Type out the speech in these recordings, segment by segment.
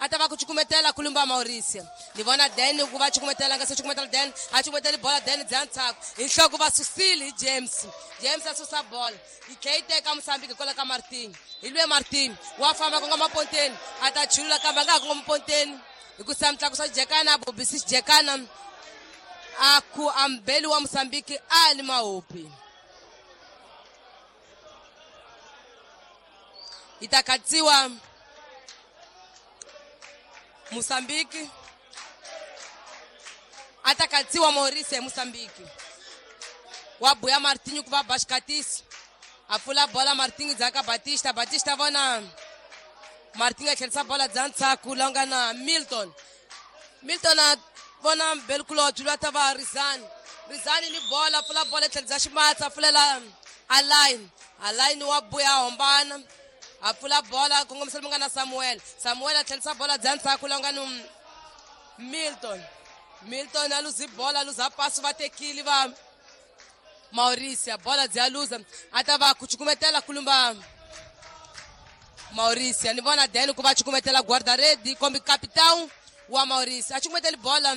A ta va ku cukumetela kulumba Mauricio. Ni vona Dan ku va cukumetela nga se cukumetela Dan, a cukumeteli bola Dan bya ntshaku. Hi nhloko va susile hi James. James a susa bola. Yi tlhe yi teka Mozambique hikwalaho ka Martin. Hi lwe Martin wa famba kongoma ponteni, a ta chulula kambe a nga ha kongoma ponteni. Hi ku sa mutlakusa xijekana, a bobisi xijekana. A ku ambeli wa Mozambique a li mahopi. Yi ta katsiwa Mozambique. A ta katsiwa Mauricio Mozambique. Wa buya Martinho ku va ba xikatisi. A pfula bola Martinho dzaka Batista, Batista vona Martinho a tlherisa bola dza ntshaku la nga na Milton. Milton a vona Belkulot lwa ta va Rizani. Rizani ni bola, pfula bola tlherisa ximatsa, pfulela Alain. Alain wa buya hombana. A pfula bola kongomisa munga na Samuel. Samuel a tlherisa bola dza ntshaku la nga ni Milton. Milton a luzi bola, a luza paso va tekile va Mauricio. Bola dzi a luza, a ta va ku cukumetela kulumba Mauricio. Ni vona Dan ku va cukumetela guarda-rede kombi capitão wa Mauricio. A cukumeteli bola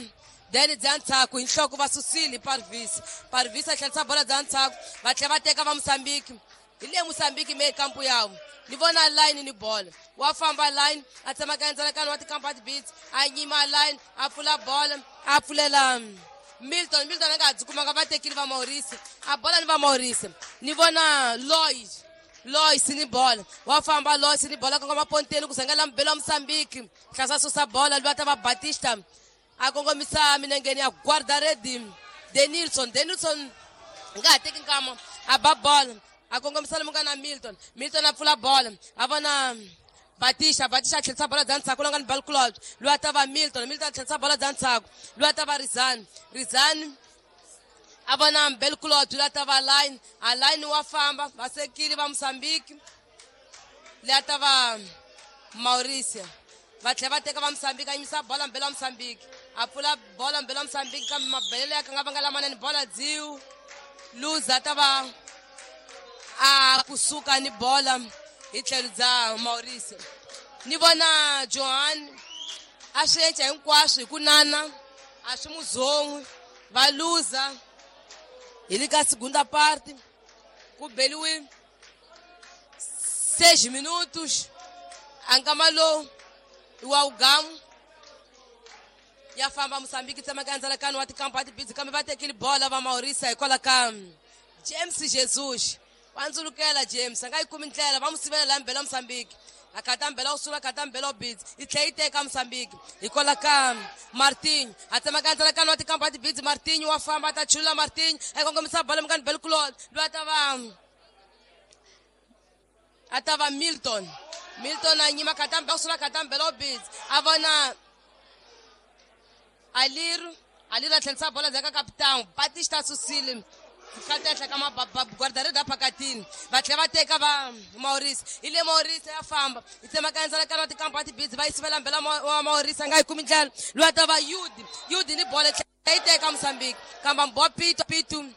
Dan dza ntshaku hi nhloko va susile Parvis. Parvis a tlherisa bola dza ntshaku, va tlhela va teka va Mozambique. Hi le Mozambique me kampu yawo. Ni vona line ni bola. Wa famba line, a tsemaka ndzalakano wa tikampa beats, a nyima line, a pfula bola, a pfulela Milton. Milton a nga ha byi kumanga, va tekile va Mauricio. A bola ni va Mauricio. Ni vona Lois. Lois ni bola. Wa famba Lois ni bola kongoma ponteni ku sangela mbelo wa Mozambique. Hlasa susa bola lwa ta va Batista. A kongomisa minengeni ya guarda-rede Denilson. Denilson nga ha teki nkama, a ba bola. A kongomisa lomu nga na Milton. Milton a pfula bola. A vona Batista, Batista a tlherisa bola dza ntshaku la nga ni Balkulot. Lwa ta va Milton, Milton a tlherisa bola dza ntshaku. Lwa ta va Rizani. Rizani a vona Belkulot lwa ta va Line. A Line wa famba, va sekile va Mozambique. Lwa ta va Mauricio. Va tlhela va teka va Mozambique, a yimisa bola mbelo wa Mozambique. A pfula bola mbelo wa Mozambique kambe mabelelo ya ka nga vanga lamanene bola dziu. Luza ta va a kusuka ni bola hi tlhelo bya Mauricio. Ni vona Johan a swi endla hinkwaswo hi ku nana, a swi muzon'wi, va luza hi le ka segunda parte ku beliwe 6 minutos. A nkama lowu i wa ugamu ya famba Mozambique tsemaka ndzalakano wa tikampa tibidzi kambe va tekile bola va Mauricio hikwalaho ka James Jesus. Wa ndzulukela James, a nga yi kumi ndlela, va n'wi sivela laha mbela Mozambique. A khata mbela wu sula, khata mbela wu bidzi, yi tlhela yi teka Mozambique hikwalaho ka Martinho. A tsemaka ndzalakano wa tikampa tibidzi, Martinho wa famba, a ta chulula Martinho, a kongomisa bola mukani Belkulot, loyi a ta va Milton. Milton a nyima khata mbela wu sula, khata mbela wu bidzi, a vona Aliru. Aliru a tlherisa bola ndzhaku ka capitão Batista susile khata ehenhla ka guarda-rede phakatini. Va tlhela va teka va Mauricio. Hi le Mauricio ya famba, yi tsemaka ndzalakano wa tikampa tibidzi, va yi sivela mbela wa Mauricio, a nga yi kumi ndlela. Loyi a ta va Yudi. Yudi ni bola tlhela yi teka Mozambique kambe mbowa Pitu. Pitu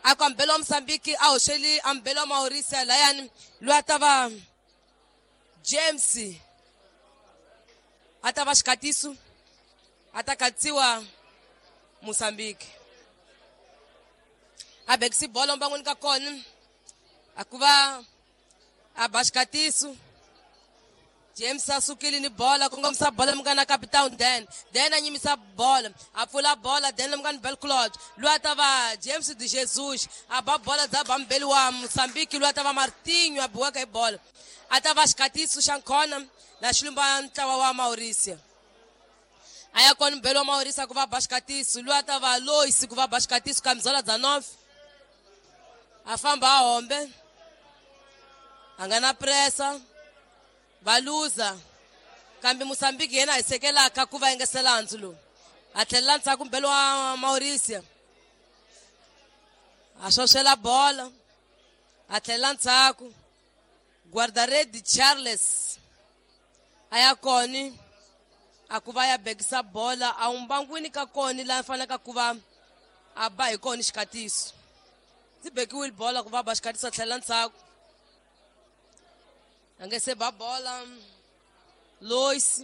a ku ambelo wa Mozambique a hoxeli ambelo wa Mauricio layani. Loyi a ta va James a ta va xikatiso, a ta katsiwa Mozambique. A bekisi bola mbangwini ka kona, a ku va a ba xikatiso. James a sukile ni bola, kongomisa bola mukana capitão Dan. Dan a nyimisa bola, a pfula bola Dan mukana Belclot. Loyi a ta va James de Jesus, a ba bola dza ba mbeli wa Mozambique, loyi a ta va Martinho a biwaka hi bola. A ta va xikatiso xa nkhona la xilumba ntlawa wa Mauricio. A ya kona mbeli wa Mauricio ku va ba xikatiso, loyi a ta va Lois ku va ba xikatiso kamizola dza North. A famba a hombe, a nga na pressa, va luza kambe Mozambique yena a hisekelaka ku va engesela handzu lowu. A tlhelela ndzhaku mbeli wa Mauricio, a xoxela bola, a tlhelela ndzhaku. Guarda-rede Charles a ya koni a ku va ya bekisa bola, a wumbangwini ka koni laha fanelaka ku va a ba hi koni xikatiso. Ndzi bekiwile bola ku va ba xikatiso, a tlhelela ndzhaku. A nge se ba bola Lois.